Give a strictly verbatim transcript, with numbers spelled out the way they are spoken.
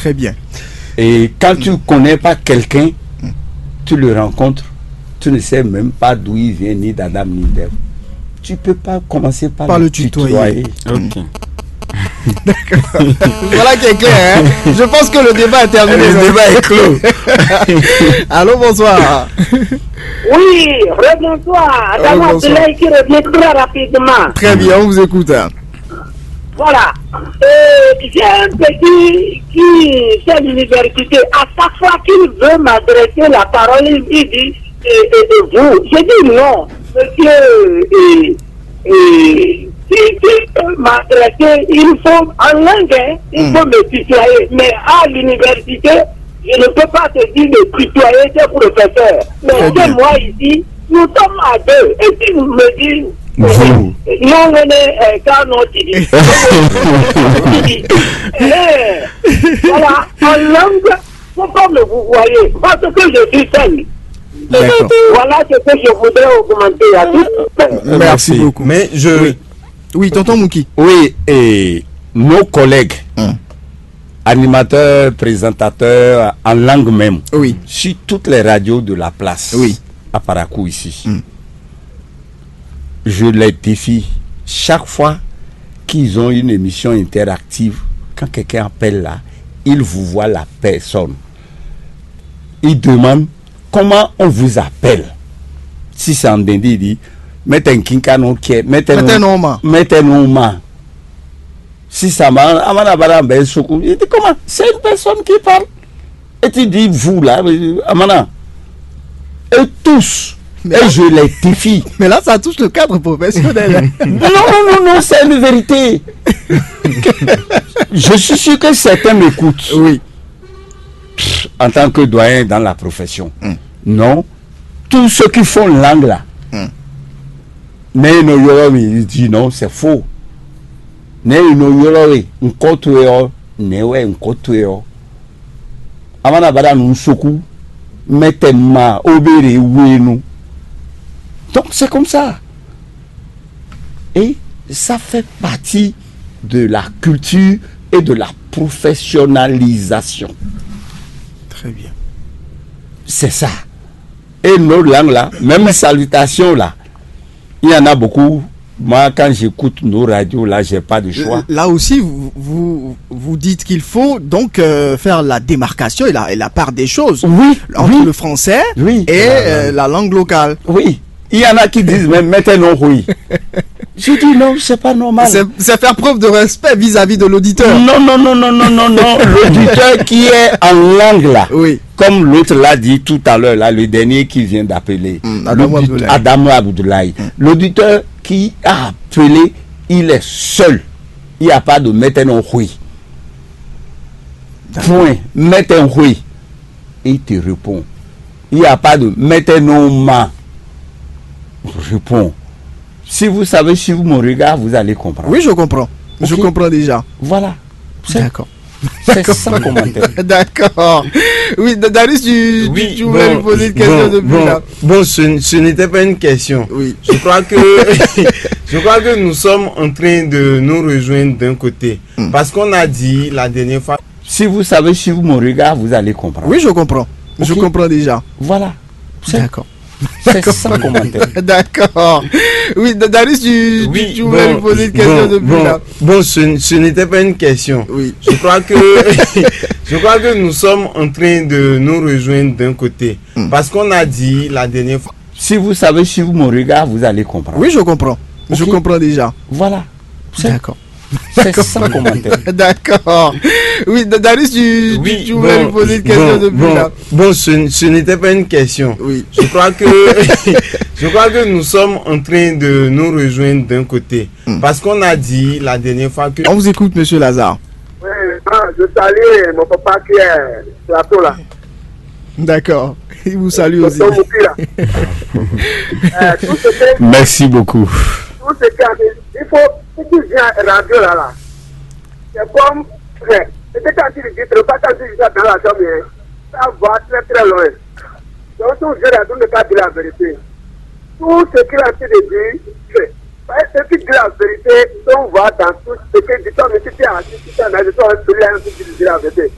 Très bien. Et quand tu ne connais pas quelqu'un, tu le rencontres, tu ne sais même pas d'où il vient, ni d'Adam, ni d'Ève. Tu peux pas commencer par, par le tutoyer. Ok. Voilà qui est clair, hein. Je pense que le débat est terminé. Le débat est clos. Allô, bonsoir. Oui, rebonsoir. Adam Abdoulaye qui revient très rapidement. Très bien, on vous écoute. Voilà. Euh, j'ai un petit qui fait l'université. À chaque fois qu'il veut m'adresser la parole, il dit, et, et, et vous. Je dis non, monsieur. Et, et si tu peux m'adresser, il faut en langue, hein, il faut me tutoyer. Mais à l'université, je ne peux pas te dire de tutoyer tes professeurs. Mais chez moi ici, nous sommes à deux. Et si vous me dites, vous, non, on est euh, quand on dit, voilà, en langue, faut pas me vous voyez, parce que je suis seul. Voilà ce que je voudrais augmenter à tout. Merci beaucoup. Mais je. Oui. Oui, tonton Mouki. Oui, et nos collègues, animateurs, présentateurs en langue même, Oui. sur toutes les radios de la place, Oui. à Parakou ici, je les défie. Chaque fois qu'ils ont une émission interactive, quand quelqu'un appelle là, ils vous voient la personne. Ils demandent comment on vous appelle. Si c'est en Dende, il dit, mettez un kinka non kié, mettez Mettez non, non ma. Mettez non ma. Si ça m'a, Amana Bara ben Soukou, il dit comment? C'est une personne qui parle. Et tu dis, vous là, euh, Amana. Et tous. Mais Et là- je les défie. Mais là, ça touche le cadre professionnel. Non, non, non, non, c'est une vérité. Je suis sûr que certains m'écoutent. Oui. En tant que doyen dans la profession. Non. Tous ceux qui font langue là, mais non, il dit non, c'est faux. Ne ino yɔlɔ we nkɔtɔe ɔ ne wɛ nkɔtɔe ɔ amana bada nu soku mɛtɛ ma obere wenu. Donc c'est comme ça. Et ça fait partie de la culture et de la professionnalisation. Très bien. C'est ça. Et nos langues là, même salutation là, il y en a beaucoup. Moi, quand j'écoute nos radios là, j'ai pas de choix. Là aussi, vous, vous, vous dites qu'il faut donc euh, faire la démarcation et la, et la part des choses Oui, entre oui. Le français Oui. et La- euh, la langue locale. Oui. Il y en a qui disent, mais mettez non, oui. Je dis non, c'est pas normal. C'est c'est faire preuve de respect vis-à-vis de l'auditeur. Non, non, non, non, non, non, non. L'auditeur qui est en langue là, Oui. Comme l'autre l'a dit tout à l'heure, là, le dernier qui vient d'appeler, Mm, Adamo l'audit- Abdoulaye. Adamo Abdoulaye. L'auditeur qui a appelé, il est seul. Il n'y a pas de mettez non oui. Point. Mettez oui. Il te répond. Il n'y a pas de mettez non ma. Répond. Si vous savez suivre mon regard, vous allez comprendre. Oui, je comprends. Je Ok. comprends déjà. Voilà. C'est D'accord. c'est sans commentaire. D'accord. Oui, Da- Darius, tu, tu- Oui, tu voulais bon, lui poser une question bon, depuis bon, là. Bon, ce, ce n'était pas une question. Oui. Je crois que, je crois que nous sommes en train de nous rejoindre d'un côté. Parce qu'on a dit la dernière fois. Si vous savez suivre mon regard, vous allez comprendre. Oui, je comprends. Je Ok. comprends déjà. Voilà. C'est D'accord. c'est sans commentaire. D'accord. Oui, Da- Darius, tu, tu- Oui, tu voulais bon, lui poser une question bon, depuis bon, là. Bon, ce, ce n'était pas une question. Oui. Je crois que, je crois que nous sommes en train de nous rejoindre d'un côté. Parce qu'on a dit la dernière fois. Si vous savez suivre mon regard, vous allez comprendre. Oui, je comprends. Je Ok. comprends déjà. Voilà. C'est D'accord. c'est sans commentaire. D'accord. Oui, Da- Darius, tu, tu- Oui, tu voulais bon, lui poser une question bon, depuis bon, là. Bon, ce, ce n'était pas une question. Oui. Je crois que, je crois que nous sommes en train de nous rejoindre d'un côté. Parce qu'on a dit la dernière fois que. On vous écoute, monsieur Lazare. Oui, ah, je salue mon papa qui est plateau là. D'accord. Il vous salue aussi. Tonton Mouki là. Euh, tout ce que, Merci beaucoup. tout ce qui arrive, il faut, ce qui vient à la radio là, là, c'est comme, euh, ce que tu as dit, tu ne pas t'en dire ça dans la chambre, hein. Ça va très très loin. Donc, si vous êtes là, vous ne pas dire la vérité. Tout ce qu'il a fait de dire, c'est. Parce que si tu dis la vérité, on voit dans tout ce que dit, toi, mais si tu es assis, si tu es analysé, toi, celui-là, tu dis la vérité.